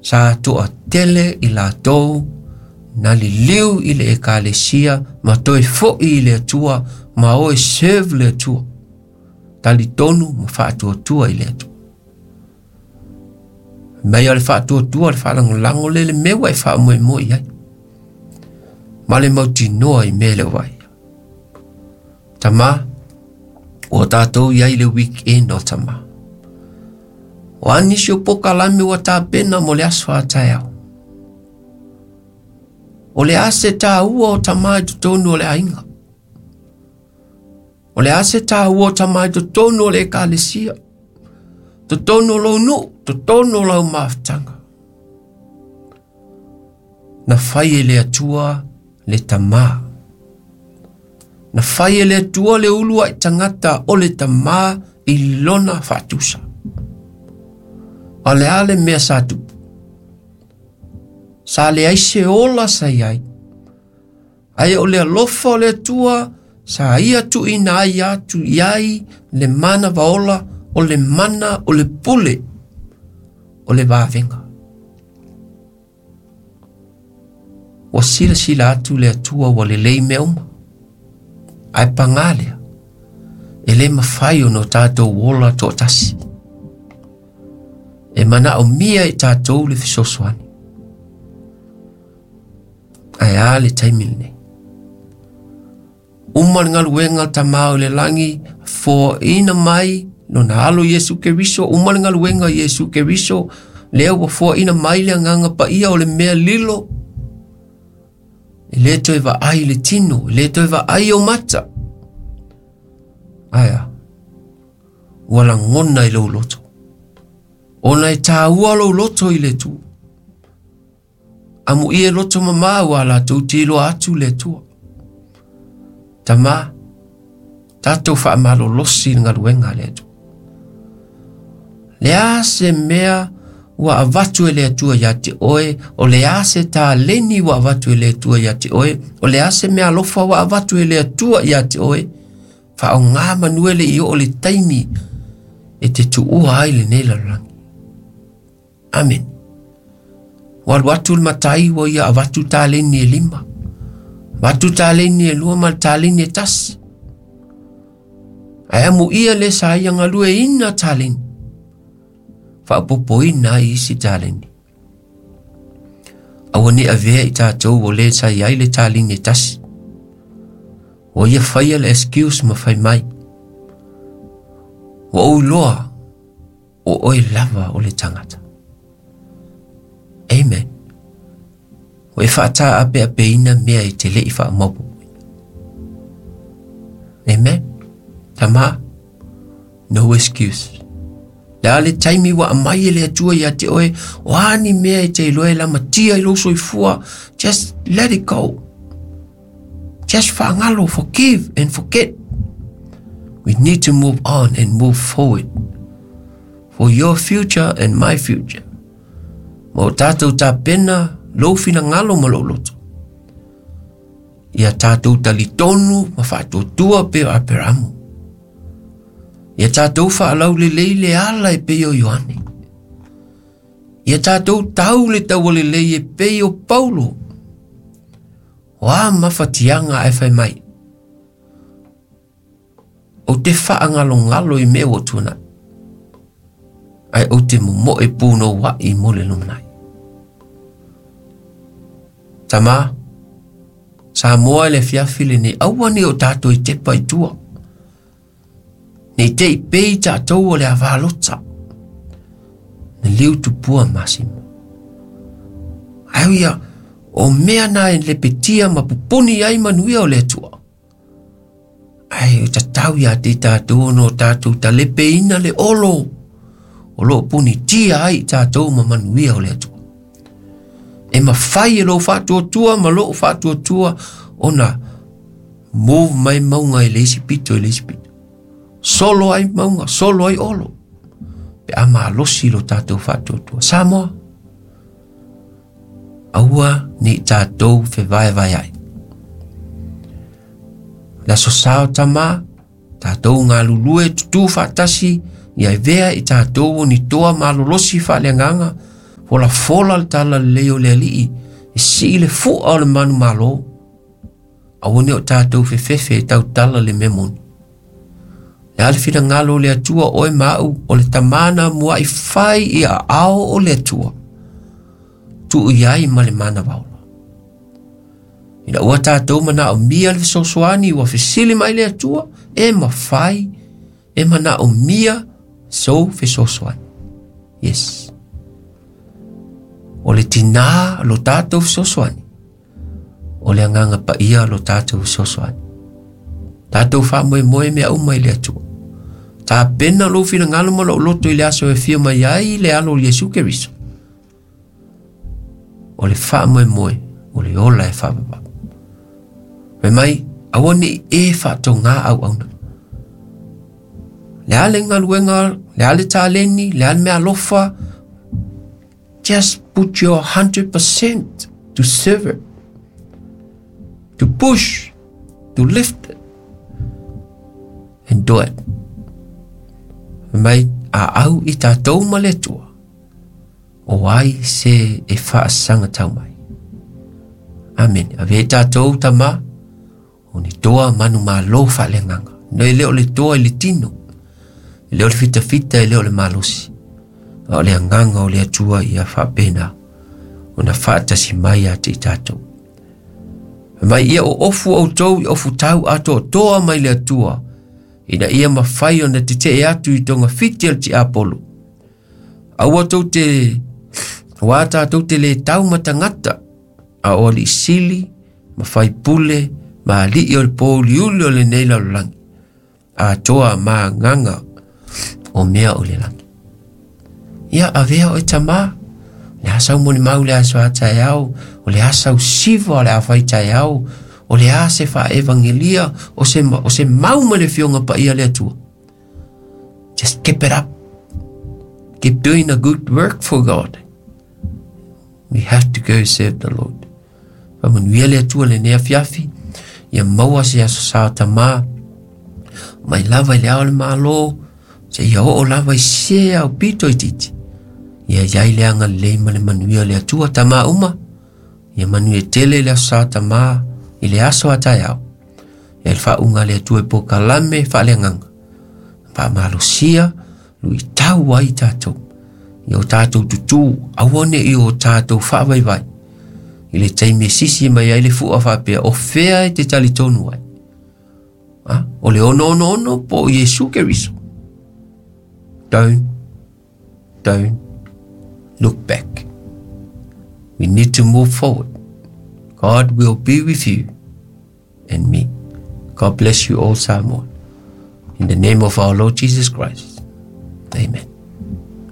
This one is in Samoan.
Sa toatele i latou na liliu i le ekalesia ma toe fo'i i le Atua ma o e serve le Atua. Talitonu ma faatuatua i le Atua. Mai o le faatuatua le faalagolago le le mea ua e faamoemoe i ai. Ma le mautinoa i mea le vai. Tama, ua tātou i ai le weekend o tama. O a nisi o pokalame ua tapena mo le aso a taeao. O le a se tāua o tama i totonu o le aiga. O le a se tāua o tama i totonu o le ekalesia. Totonu o lou nuu, totonu o lau mafutaga. Na fai e le Atua le tamā. Na fai e le Atua le uluai tagata o le tamā i lona faatusa. O le a le mea sa tupu. Sa leai se ola sa i ai. Ae o le alofa o le Atua sa ia tuuina ai atu i ai le manava ola o le mana o le pule o le vavega. Ua silasila atu le Atua ua lelei mea uma. Ae pagā lea, e le mafai ona o tatou ola toatasi. E manaomia i tatou le fesoasoani. Ae a le taimi lenei. Uma le galuega Tama o le lagi, foaina mai lona alo Iesu Keriso, uma le galuega Iesu Keriso, lea ua foaina mai le agaga paia o le mea lilo. E le toe vaai le tino, e le toe vaai o mata. Ae a, ua lagona i lou loto. Ona e tāua lou loto i le Atua. Amuia loto mamā ua latou te iloa atu le Atua. Tama, tatou faamalolosi le galuega a le Atua. Le a se mea ua avatu e le Atua ia te oe, o le a se taleni ua avatu e le Atua ia te oe, o le a se mea alofa ua avatu e le Atua ia te oe, faaaoga manu e le i oo le taimi e te tuua ai lenei lalolagi. Amen. Ua alu atu le matai ua ia avatu taleni e 5. Avatu taleni e 2 ma le taleni e 1. Ae amuia le sa ia galueina taleni. Faapopoina ai isi taleni. Aua ne i avea i tatou o le sa i ai le taleni e 1. Ua ia faia le excuse ma fai mai. Ua ou iloa o oe lava o le tagata. Amen. Ua e faataapeapeina mea e te le i faamaopoopoina. Amen. Tama, no excuse. Le a le taimi ua aumai e le Atua ia te oe, o a ni mea e te iloa e lamatia i lou soifua, just let it go. Just faagalo, forgive and forget. We need to move on and move forward for your future and my future. Ma o tātou tapena lou finagalo ma lou loto. Ia tātou talitonu ma faatuatua pei o Aperamu. Ia tātou faalaulelei le ala e pei o Ioane. Ia tātou tau le taualelei e pei o Paulo. O a mafatiaga ae fai mai. O te whaangalongalo i mea ua tuanai. Ae o te momoe pūnou ai mo le lumanai. Tama, Samoa i le afiafi lenei, aua ne i o tatou i tepa i tua. Nei te i pei tatou o le avalota. Na liu tupua masima. Ae ia, o mea na e lepetia ma pupuni ai manuia o le Atua. Ae o tatau ia te tatou ona o tatou talepeina le olo o loo punitia ai i tatou ma manuia o le Atua. E mafai e lou faatuatua ma lou faatuatua ona move mai mauga i le isi pito i le isi pito. Solo ai mauga, solo ai olo. Pe a malosi lo tatou faatuatua. Samoa, aua ne i tatou fevaevaeai. Le aso sa o tama, tatou galulue tutū faatasi ia avea i tatou o ni toa malolosi faaleagaga, Folafola le talalelei o le Alii e sii le fu'a o le manumalo. Aua ne o tatou fefefe e tautala le mea moni. Le a le finagalo o le Atua oe ma a'u o le tamā na mua'i fai i aao o le Atua. Tuu i ai ma le manava ola. Ina ua tatou manaomia le fesoasoani ua fesili mai le Atua e mafai e manaomia sou fesoasoani. Yes. O le tinā lo tatou fesoasoani. O le agaga paia lo tatou fesoasoani. Tatou faamoemoe mea uma i le Atua. Tapena lou finagalo ma lou loto i le aso e afio mai ai le alo o Iesu Keriso. O le faamoemoe o le ola e faavavau. Fai mai, aua ne i e faatogā auauna. Le a le galuega, le a le taleni, le a le meaalofa, just put your 100% to serve it, to push, to lift it, and do it. Fai mai, a au i tatou ma le Atua, o ai se e faasagatau mai. Amene. Avea i tatou tamā, o ni toa manumalo faaleagaga. No e le o le toa i le tino, e le o le fitafita, e le o le malosi. A o le agaga o le Atua ia faapena, ona faatasi mai ia te i tatou. Fai mai ia oofu outou i ofutau atoatoa mai le Atua, ina ia mafai ona tetee atu i togafiti a le tiapolo. Aua tou te auā tatou te le tau ma tagata, a o alii sili ma faipule ma alii o le pouliuli o lenei lalolagi, atoa ma agaga o mea o le lagi. Ia avea oe tamā, le a sau molimau le aso a taeao, o le a sau siva o le a fai taeao, o le a se faaevagelia, o se mau ma le Afioga Paia a le Atua. Just keep it up. Keep doing a good work for God. We have to go serve the Lord. Faamanuia le Atua lenei afiafi, ia maua se aso sa tamā, mai lava i le ao o le Malo, seia oo lava i se ao pito itiiti. Ia i ai le agalelei ma le manuia o le Atua tamā uma, ia manuia tele le aso sa tamā i le aso a taeao. Ia le faauga a le Atua i polokalame faaleagaga. Faamalosia luitau ai tatou. Ia o tatou tutū, aua ne i o tatou faavaivai. I le taimi e sisi mai ai le fua faapea, o fea e te talitonu ai. Ha? O le 666 po o Iesu Keriso. Don't look back. We need to move forward. God will be with you and me. God bless you all, Samoa. In the name of our Lord Jesus Christ. Amen.